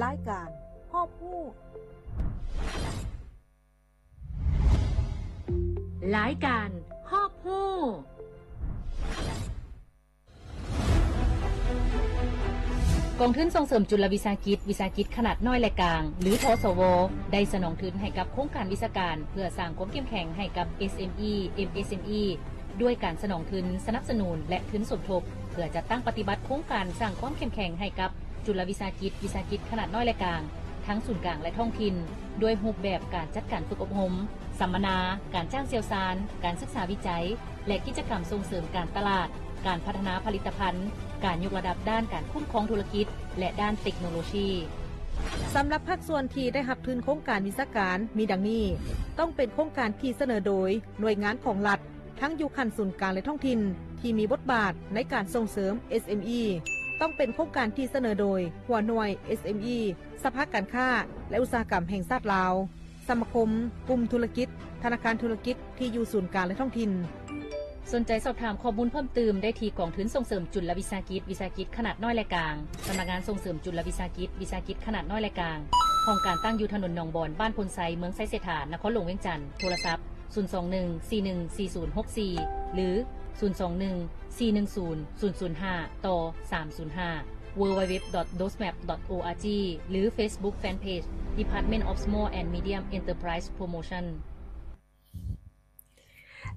ລາຍການຮອບຮູ້. ລາຍການຮອບຮູ້. ກອງທຶນສົ່ງເສີມຈຸລະວິສາຫະກິດ, ວິສາຫະກິດຂະໜາດນ້ອຍ ແລະ ກາງ ຫຼື ທສວ ໄດ້ສະໜອງທຶນໃຫ້ກັບໂຄງການວິຊາການ ເພື່ອສ້າງຄວາມເຂັ້ມແຂງໃຫ້ກັບ ເອສເອັມອີ ເອັມເອສເອັມອີ ດ້ວຍການສະໜອງທຶນສະໜັບສະໜູນ ແລະ ທຶນສົມທົບ ເພື່ອຈັດຕັ້ງປະຕິບັດໂຄງການສ້າງຄວາມເຂັ້ມແຂງໃຫ້ກັບຈຸລະວິສາຫະກິດ, ວິສາຫະກິດຂະໜາດນ້ອຍ ແລະ ກາງ ທັງສູນກາງ ແລະ ທ້ອງຖິ່ນ ດ້ວຍຮູບແບບການຈັດການຝຶກອົບຮົມ, ສຳມະນາ, ການຈ້າງຊ່ຽວຊານ, ການສຶກສາວິໄຈ ແລະ ກິດຈະກຳສົ່ງເສີມການຕະຫຼາດ, ການພັດທະນາຜະລິດຕະພັນ, ການຍົກລະດັບດ້ານການຄຸ້ມຄອງທຸລະກິດ ແລະ ດ້ານເຕັກໂນໂລຊີ. ສຳລັບພາກສ່ວນທີ່ໄດ້ຮັບທຶນໂຄງການວິຊາການມີດັ່ງນີ້: ຕ້ອງເປັນໂຄງການທີ່ສະເໜີໂດຍໜ່ວຍງານຂອງລັດ ທັງຢູ່ຂັ້ນສູນກາງ ແລະ ທ້ອງຖິ່ນ ທີ່ມີບົດບາດໃນການສົ່ງເສີມ ເອສເອັມອີ. ຕ້ອງເປັນໂຄງການທີ່ສະເໜີໂດຍຫົວໜ່ວຍ ເອສເອັມອີ ສະພາການຄ້າ ແລະ ອຸດສາຫະກຳແຫ່ງຊາດລາວ, ສະມາຄົມ, ກຸ່ມທຸລະກິດ, ທະນາຄານທຸລະກິດທີ່ຢູ່ສູນກາງ ແລະ ທ້ອງຖິ່ນ. ສົນໃຈສອບຖາມຂໍ້ມູນເພີ່ມຕື່ມໄດ້ທີ່ກອງທຶນສົ່ງເສີມຈຸລະວິສາຫະກິດ, ວິສາຫະກິດຂະໜາດນ້ອຍ ແລະ ກາງ, ສຳນັກງານສົ່ງເສີມຈຸລະວິສາຫະກິດ, វិສາຫະກິດຂະໜາດນ້ອຍ ແລະ ກາງ, ຫ້ອງການຕັ້ງຢູ່ຖະໜົນໜອງບອນ, ບ້ານໂພນໄຊ, ເມືອງໄຊເສດຖາ, ນະຄອນຫຼວງວຽງຈັນ. ໂທລະສັບ ສູນສອງໜຶ່ງ ສີ່ໜຶ່ງ ສີ່ສູນຫົກສີ່ ຫຼື ສູນສອງໜຶ່ງ ສີ່ໜຶ່ງສູນ ສູນສູນຫ້າ ຕໍ່ ສາມສູນຫ້າ www.dosmap.org ຫຼື Facebook Fanpage Department of Small and Medium Enterprise Promotion.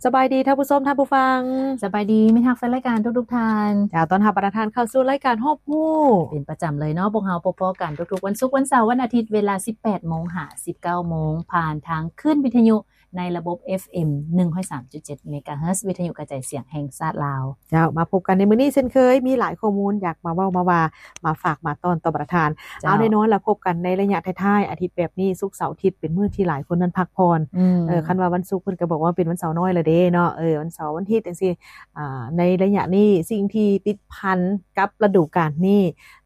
ສະບາຍດີທ່ານຜູ້ຊົມ, ທ່ານຜູ້ຟັງ. ສະບາຍດີມິດຮັກແຟນລາຍການທຸກໆທ່ານ. ເຈົ້າ, ຕ້ອນຮັບບັນດາທ່ານເຂົ້າສູ່ລາຍການຮອບຮູ້ເປັນປະຈຳເລີຍເນາະ. ພວກເຮົາພົບພໍ້ກັນທຸກໆວັນສຸກ, ວັນເສົາ, ວັນອາທິດ, ເວລາ ສິບແປດໂມງ ຫາ ສິບເກົ້າໂມງ ຜ່ານທາງຄື້ນວິທະຍຸ ໃນລະບົບ ເອັຟເອັມ ໜຶ່ງຮ້ອຍສາມຈຸດເຈັດ ເມກາເຮີດ ວິທະຍຸກະຈາຍສຽງແຫ່ງຊາດລາວ. ເຈົ້າ, ມາພົບກັນໃນມື້ນີ້ເຊັ່ນເຄີຍ, ມີຫຼາຍຂໍ້ມູນຢາກມາເວົ້າມາວ່າ, ມາຝາກມາຕ້ອນຕໍ່ບັນດາທ່ານ. ເຈົ້າ. ເອົາ, ແນ່ນອນລະ, ພົບກັນໃນໄລຍະທ້າຍໆອາທິດແບບນີ້, ສຸກ, ເສົາ, ອາທິດ, ເປັນມື້ທີ່ຫຼາຍຄົນນັ້ນພັກຜ່ອນ. ອືມ. ເອີ, ຄັນວ່າວັນສຸກເພິ່ນກໍບອກວ່າເປັນວັນເສົານ້ອຍລະເດ້ເນາະ. ເອີ, ວັນເສົາ, ວັນອາທິດ ຈັ່ງຊີ້. ອາ, ໃນໄລຍະນີ້, ສິ່ງທີ່ຕິດພັນກັບລະດູການນີ້,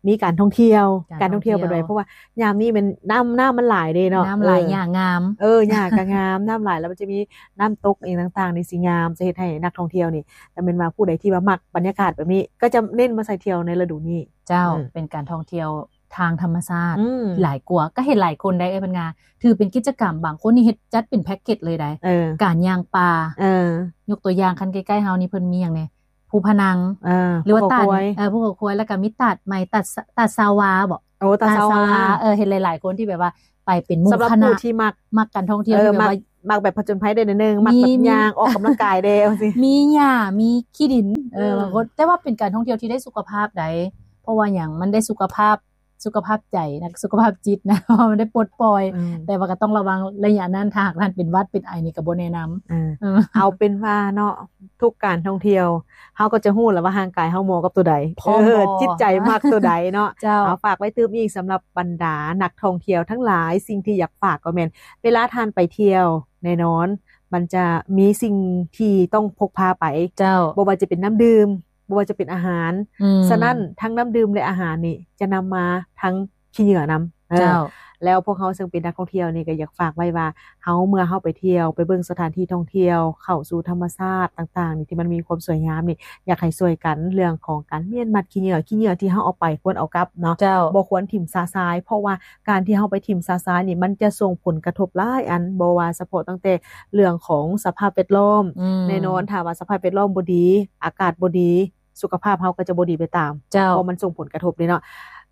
ມີການທ່ອງທ່ຽວ, ການທ່ອງທ່ຽວ ການທ່ອງທ່ຽວເປັນໄປ, ເພາະວ່າຍາມນີ້ແມ່ນນ້ຳ, ນ້ຳມັນຫຼາຍເດ້ເນາະ. ນ້ຳຫຼາຍ, ເອີ ຫຍ້າງາມ. ເອີ, ຫຍ້າກໍງາມ, ນ້ຳຫຼາຍ, ແລ້ວມັນຈະມີນ້ຳຕົກອີ່ຫຍັງຕ່າງໆນີ້ຊິງາມ, ຈະເຮັດໃຫ້ນັກທ່ອງທ່ຽວນີ້, ແຕ່ແມ່ນວ່າຜູ້ໃດທີ່ວ່າມັກບັນຍາກາດແບບນີ້, ກໍຈະເນັ້ນມາໃສ່ທ່ຽວໃນລະດູນີ້. ເຈົ້າ. ອືມ. ເປັນການທ່ອງທ່ຽວທາງທຳມະຊາດ. ອືມ. ຫຼາຍກວ່າ, ກໍເຫັນຫຼາຍຄົນໄດ໋, ເອີ ເພິ່ນກໍຖືເປັນກິດຈະກຳ, ບາງຄົນນີ້ເຮັດ, ຈັດເປັນແພັກເກັດເລີຍໄດ໋. ເອີ. ການຍ່າງປ່າ. ເອີ. ຍົກຕົວຢ່າງ, ຄັນໃກ້ໆເຮົານີ້ ເພິ່ນມີຫຍັງແດ່? ພູພະນັງ ເອີ ຫຼືວ່າຕາດ ພູເຂົາຄວາຍ ເອີ ພູເຂົາຄວາຍ ແລ້ວກໍມີຕາດໄມ້ ຕາດ ຕາດຊາວາບໍ? ໂອ້ ຕາດຊາວາ ຕາດຊາວາ ເອີ ເຫັນຫຼາຍໆຄົນທີ່ແບບວ່າໄປເປັນໝູ່ຄະນະ ສຳລັບຜູ້ທີ່ມັກ ມັກການທ່ອງທ່ຽວ ເອີ ທີ່ແບບວ່າ ມັກ ມັກແບບຜະຈົນໄພແດ່ໜ້ອຍໜຶ່ງ ມັກແບບ ມີ ຍ່າງອອກກຳລັງກາຍແດ່ ຈັ່ງຊີ້ ມີຫຍ້າ ມີຂີ້ດິນ ເອີ ອືມ ບາງຄົນ ແຕ່ວ່າເປັນການທ່ອງທ່ຽວທີ່ໄດ້ສຸຂະພາບໃດ໋ ເພາະວ່າຫຍັງ ມັນໄດ້ສຸຂະພາບ ສຸຂະພາບໃຈນະ ສຸຂະພາບຈິດນະ ເພາະວ່າມັນໄດ້ປົດປ່ອຍ ອືມ ແຕ່ວ່າກໍຕ້ອງລະວັງໄລຍະນັ້ນ ຖ້າຫາກທ່ານເປັນຫວັດເປັນໄອນີ້ກໍບໍ່ແນະນຳ ເອີ ເອີ ເອົາເປັນວ່າເນາະ ທຸກການທ່ອງທ່ຽວ ເຮົາກໍຈະຮູ້ແລ້ວວ່າຮ່າງກາຍເຮົາເໝາະກັບໂຕໃດ ເອີ ຈິດໃຈມັກໂຕໃດເນາະ ເຈົ້າ ເອົາ ຝາກໄວ້ຕື່ມອີກ ສຳລັບບັນດານັກທ່ອງທ່ຽວທັງຫຼາຍ ສິ່ງທີ່ຢາກຝາກກໍແມ່ນ ເວລາທ່ານໄປທ່ຽວ ແນ່ນອນ ມັນຈະມີສິ່ງທີ່ຕ້ອງພົກພາໄປ ເຈົ້າ ບໍ່ວ່າຈະເປັນນ້ຳດື່ມ ບໍ່ວ່າຈະເປັນອາຫານ ອືມ ສະນັ້ນ ທັງນ້ຳດື່ມ ແລະ ອາຫານນີ້ ຈະນຳມາທັງຂີ້ເຫຍື້ອນຳ ເອີ ເຈົ້າ ແລ້ວພວກເຮົາເຊິ່ງເປັນນັກທ່ອງທ່ຽວນີ້ ກໍຢາກຝາກໄວ້ວ່າ ເຮົາ ເມື່ອເຮົາໄປທ່ຽວ ໄປເບິ່ງສະຖານທີ່ທ່ອງທ່ຽວ ເຂົ້າສູ່ທຳມະຊາດຕ່າງໆນີ້ ທີ່ມັນມີຄວາມສວຍງາມນີ້ ຢາກໃຫ້ຊ່ວຍກັນເລື່ອງຂອງການມ້ຽນມັດຂີ້ເຫຍື້ອ ຂີ້ເຫຍື້ອທີ່ເຮົາເອົາໄປຄວນເອົາກັບເນາະ ເຈົ້າ ບໍ່ຄວນຖິ້ມຊະຊາຍ ເພາະວ່າການທີ່ເຮົາໄປຖິ້ມຊະຊາຍນີ້ ມັນຈະສົ່ງຜົນກະທົບຫຼາຍອັນ ບໍ່ວ່າສະເພາະຕັ້ງແຕ່ເລື່ອງຂອງສະພາບແວດລ້ອມ ອືມ ແນ່ນອນ ຖ້າວ່າສະພາບແວດລ້ອມບໍ່ດີ ອາກາດບໍ່ດີ ສຸຂະພາບເຮົາກໍຈະບໍ່ດີໄປຕາມ ເຈົ້າ ເພາະມັນສົ່ງຜົນກະທົບເດ້ເນາະ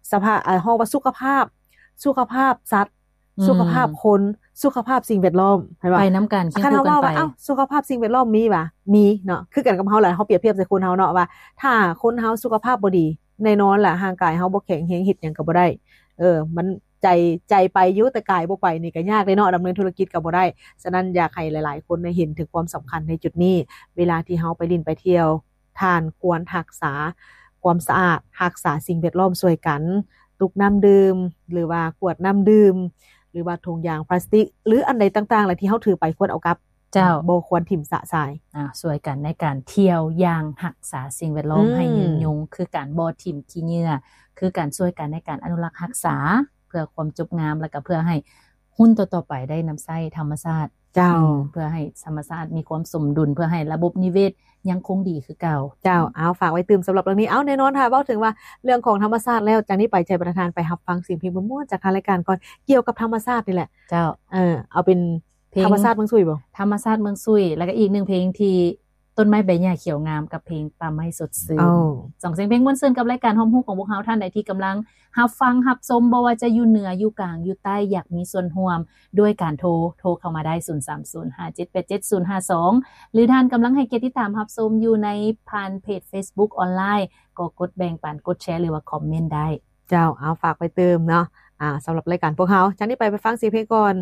ສະພາບ ເອີ ເຮົາວ່າສຸຂະພາບ ສຸຂະພາບສັດ ອືມ ສຸຂະພາບຄົນ ສຸຂະພາບສິ່ງແວດລ້ອມ ເຫັນບໍ່? ໄປນຳກັນ ຄຽງຄູ່ກັນໄປ ຄັນເຮົາເວົ້າວ່າ ເອົ້າ ສຸຂະພາບສິ່ງແວດລ້ອມມີຫວາ? ມີເນາະ ຄືກັນກັບເຮົາແຫຼະ ເຮົາປຽບທຽບໃສ່ຄົນເຮົາເນາະ ວ່າຖ້າຄົນເຮົາສຸຂະພາບບໍ່ດີ ແນ່ນອນແຫຼະ ຮ່າງກາຍເຮົາບໍ່ແຂງແຮງ ເຮັດຫຍັງກໍບໍ່ໄດ້ ເອີ ມັນ ໃຈ ໃຈໄປຢູ່ ແຕ່ກາຍບໍ່ໄປນີ້ກໍຍາກເດ້ເນາະ ດຳເນີນທຸລະກິດກໍບໍ່ໄດ້ ສະນັ້ນ ຢາກໃຫ້ຫຼາຍໆຄົນໄດ້ເຫັນເຖິງຄວາມສຳຄັນໃນຈຸດນີ້ ເວລາທີ່ເຮົາໄປຫຼິ້ນໄປທ່ຽວ ທ່ານຄວນຮັກສາຄວາມສະອາດ ຮັກສາສິ່ງແວດລ້ອມຊ່ວຍກັນ ຕຸກນ້ຳດື່ມ ຫຼືວ່າຂວດນ້ຳດື່ມ ຫຼືວ່າຖົງຢາງພລາສຕິກ ຫຼືອັນໃດຕ່າງໆແຫຼະທີ່ເຮົາຖືໄປຄວນເອົາກັບ ເຈົ້າ ບໍ່ຄວນຖິ້ມຊະຊາຍ ອາ ຊ່ວຍກັນໃນການທ່ຽວຢ່າງຮັກສາສິ່ງແວດລ້ອມ ອືມ ໃຫ້ຍືນຍົງ ຄືການບໍ່ຖິ້ມຂີ້ເຫຍື້ອ ຄືການຊ່ວຍກັນໃນການອະນຸລັກຮັກສາ ເພື່ອຄວາມຈົບງາມ ແລ້ວກໍເພື່ອໃຫ້ຮຸ່ນຕໍ່ໆໄປໄດ້ນຳໃຊ້ທຳມະຊາດ ເຈົ້າ ອືມ ເພື່ອໃຫ້ທຳມະຊາດມີຄວາມສົມດຸນ ເພື່ອໃຫ້ລະບົບນິເວດຍັງຄົງດີຄືເກົ່າ. ເຈົ້າ ເອົາ ຝາກໄວ້ຕື່ມສຳລັບເລື່ອງນີ້. ເອົາ ແນ່ນອນ ຖ້າເວົ້າເຖິງວ່າເລື່ອງຂອງທຳມະຊາດແລ້ວ ຈາກນີ້ໄປໃຈປະທານໄປຮັບຟັງສຽງເພງມ່ວນໆຈາກທາງລາຍການກ່ອນ ກ່ຽວກັບທຳມະຊາດນີ້ແຫຼະ. ເຈົ້າ ເອີ ເອົາເປັນ ເພງ ທຳມະຊາດເມືອງຊຸຍບໍ? ທຳມະຊາດເມືອງຊຸຍ ແລ້ວກໍອີກໜຶ່ງເພງທີ່ ຕົ້ນໄມ້ໃບຫຍ້າຂຽວງາມ ກັບເພງປ່າໄມ້ສົດຊື່ນ. ໂອ້ ສອງສຽງເພງມ່ວນຊື່ນກັບລາຍການຮອບຮູ້ຂອງພວກເຮົາ. ທ່ານໃດທີ່ກຳລັງຮັບຟັງຮັບຊົມ ບໍ່ວ່າຈະຢູ່ເໜືອ ຢູ່ກາງ ຢູ່ໃຕ້ ຢາກມີສ່ວນຮ່ວມດ້ວຍການໂທ ໂທເຂົ້າມາໄດ້ ສູນສາມສູນ ຫ້າເຈັດແປດເຈັດ ສູນຫ້າສອງ ຫຼືທ່ານກຳລັງໃຫ້ກຽດຕິດຕາມຮັບຊົມຢູ່ໃນຜ່ານເພຈເຟສບຸກອອນລາຍ ກໍກົດແບ່ງປັນ ກົດແຊ ຫຼືວ່າຄອມເມັນໄດ້. ເຈົ້າ ເອົາ ຝາກໄວ້ຕື່ມເນາະ. ອ່າ ສຳລັບລາຍການພວກເຮົາ ຈາກນີ້ໄປ ໄປຟັງສຽງເພງກ່ອນ.